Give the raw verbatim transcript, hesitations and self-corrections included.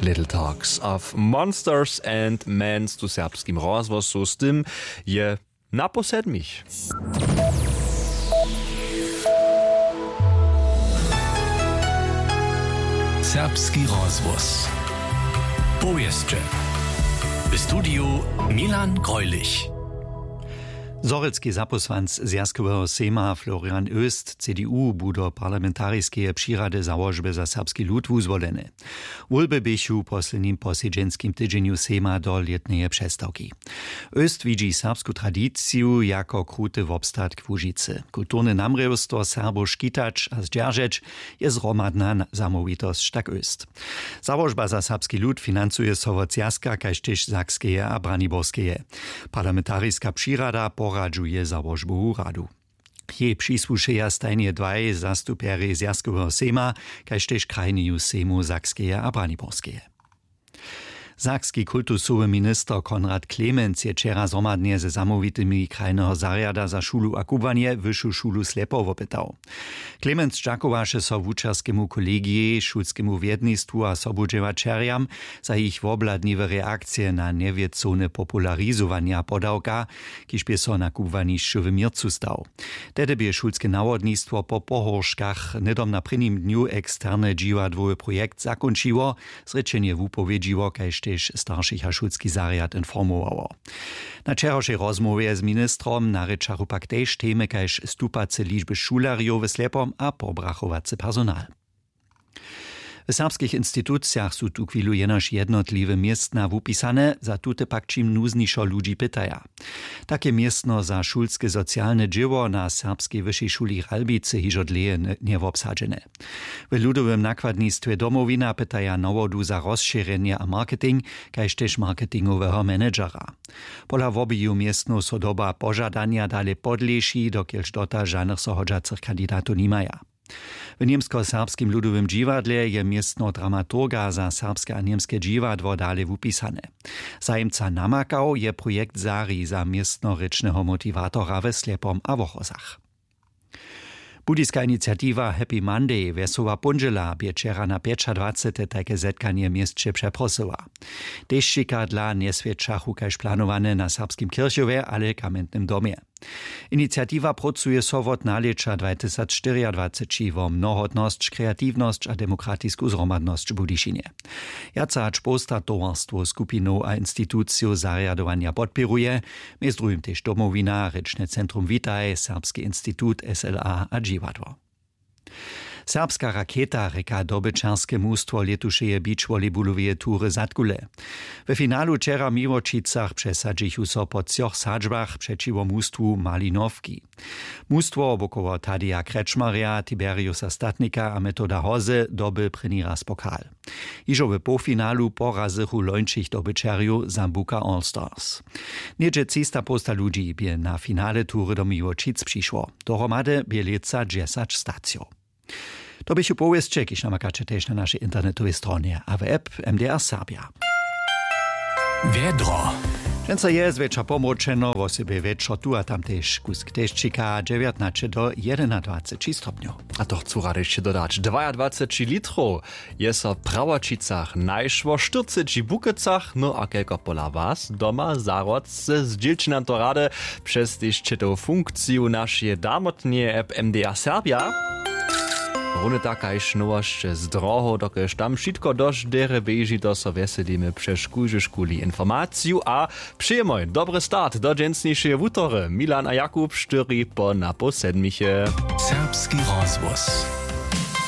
Little Talks of Monsters and Men tu w serbskim rozhłosu, z tym je na po sedmich. Serbski rozhłos. Powěsće. W studiju Milan Greulich. Zhorjelski zapósłanc Zwjazkoweho sejma Florian Oest, C D U, bu do parlamentariskeje přirady Załožby za serbski lud wuzwoleny. Wólby běchu w poslednim posedźenskim tydźenju sejma do lětneje přestawki. Oest widźi serbsku tradiciju jako kruty wobstatk Łužicy. Kulturne namrěwstwo Serbow škitać a zdźeržeć je zhromadna na-, zamołwitosć, tak Oest. Załožba za serbski lud financuje so wot Zwjazka kaž tež Sakskeje a Braniborskeje. Parlamentariska přirada poradźuje załožbowu radu. Jej přisłušeja stajnje dwaj zastupjerjej Zwjazkoweho sejma kaž tež krajneju sejmow Sakskeje a Braniborskeje. Sakski kultusowy minister Konrad Klemenc je wčera zhromadnje ze zamołwitymi krajneho zarjada za šulu a kubłanje Wyšu šulu Slepo wopytał. Klemenc dźakowaše so wučerskemu kolegijej, šulskemu wjednistwu a sobudźěłaćerjam za jich wobhladniwe reakcije na njewěcowne popularizowanja podawka, kiž bě so na kubłanišću w měrcu stał. Tehdy bě šulske nawodnistwo po pohórškach hnydom na prěnim dnju eksterne dźiwadłowy projekt zakónčiło, zrěčenje wupowědźiło kaž tež staršich a šulski zarjad informowało. Na wčerawšej rozmołwje z ministrom narěčachu pak tež temy kaž stupace ličby šulerjow w Slepom a pobrachowacy personal. W serbskich institucijach su tuchwilu jenož jednotliwe městna wupisane, za tute pak ćim nuznješo ludźi pytaja. Tak je městno za šulske socialne dźěło na Serbskej wyšej šuli Ralbicy hižo dlěje n-, njewobsadźene. W ludowym nakładnistwje Domowina pytaja nawodu za rozšěrjenje a marketing kaž tež marketingoweho managera. Pola wobiju městnow so doba požadanja dale podlěši, dokelž dotal žanych so hodźacych kandidatow nimaja. W němskoserbskim ludowym dźiwadle je městno dramaturga za serbske a němske dźiwadło dale wupisane. Zajimca namakał je projekt Zari za městnorěčneho motiwatora we Slepom a Wochozach. Budyska iniciatiwa Happy Monday, wjesoła póndźěla, bě wčera na pjećadwacete tajke zetkanje w měsće přeprosyła. Dešćika dla njeswjećachu kaž planowane na Serbskim kěrchowje, ale w Kamjentnym domje. Iniciatiwa prócuje so wot nalěća dwatysacštyriadwaceći wo mnohotnosć, kreatiwnosć a demokratisku zhromadnosć w Budyšinje. Wjace hač połsta towarstwow, skupinow a institucijow zarjadowanja podpěruje, mjez druhim tež Domowina, Rěčne centrum Witaj, Serbski institut, S L A a dźiwadło. Serbska raketa rěka dobyćerske mustwo lětušeje beach volleyballoweje tury Zadkule. We finalu wčera w Miłočicach přesadźichu so po třoch sadźbach přećiwo mustwu Malinowki. Mustwo wokoło Tadeja Kretschmarja, Tiberiusa Statnika a Metoda Hozy doby prěni raz pokal. Hižo w połfinalu porazychu lońšich dobyćerjow Sambuca All Stars. Něhdźe třista połsta ludźi bě na finale tury do Miłočic přišło. Dohromady bě lětsa dźesać stacijow. To běchu powěsće, kiž namakaće tež na našej internetowej stronje a w app M D R Serbia. Wjedro. Dźensa je zwjetša pomročeno, wosebje wječor tu a tam tež kusk dešćika, dźewjatnaće do jedynadwaceći stopnjow. A to chcu rady hišće dodać: dwajadwaceći litrow je so w Prawoćicach našło, štyrceći w Bukecach. No a kelko pola was doma? Zahrodźce, zdźělće nam to rady přez tež četow funkciju našeje damotneje app M D R Serbia. Runje tak kaž nowosće z drohow, dokelž tam wšitko dosć derje běži, to so wjeselimy přez kóždu šuli informaciju a přejemoj dobry start do dźensnišeje wutory. Milan a Jakub, štyri po napoł sedmiche. Serbski rozhłos.